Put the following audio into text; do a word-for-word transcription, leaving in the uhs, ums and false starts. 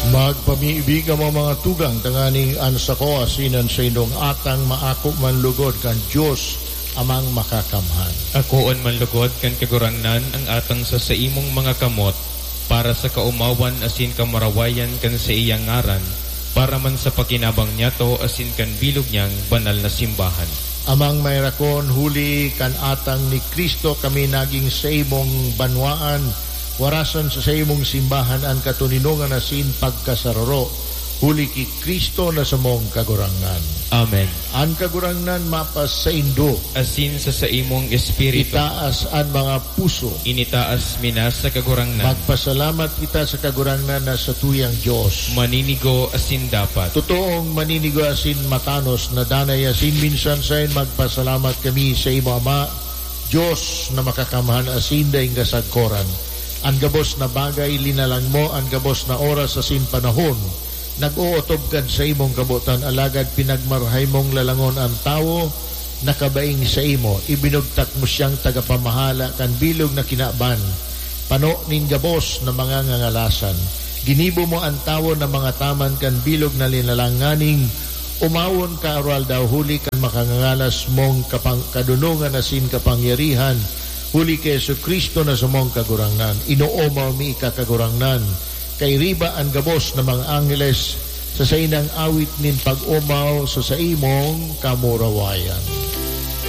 Magpamibi kamo, mga tugang, tanganing an sako asin an saindong atang maako man lugod kan Dios Amang Makakamhan. Akoon man lugod kan Kagurangnan ang atang sa saimong mga kamot, para sa kaomawan asin kamurawayan kan saiyang ngaran, para man sa pakinabang niyato asin kan bilog niyang banal na simbahan. Amang Mairakon, huli kan atang ni Cristo kami naging saimong banwaan, warasan sa saimong simbahan an katoninongan asin pagkasararo, huli ki Cristo na samong Kagurangnan. Amen. An Kagurangnan mapasaindo. Asin sa saimong espiritu. Itaas an mga puso. Initaas mi na sa Kagurangnan. Magpasalamat kita sa Kagurangnan na satuyang Dios. Maninigo asin dapat. Totoong maninigo asin matanos na danay asin minsan sain magpasalamat kami sa imo, Ama, Dios na makakamhan asin daing kasagkoran. An gabos na bagay linalang mo, an gabos na oras asin panahon, nag-ootob kan saimong kabotan, alagad pinagmarahay mong lalangon an tawo na kabaing saimo. Ibinugtak mo siyang tagapamahala kan bilog na kinaban, pano nin gabos na mga ngangalasan. Ginibo mo an tawo na mangataman kan bilog na linalang nganing umawon ka aroaldaw huli kan makangangalas mong kapang-, kadunongan asin kapangyarihan, huli ki Jesu-Cristo na samong Kagurangnan. Inoomaw mi ika, Kagurangnan, kairiba an gabos na mga angheles sa saindang awit nin pag-omaw sa saimong kamurawayan.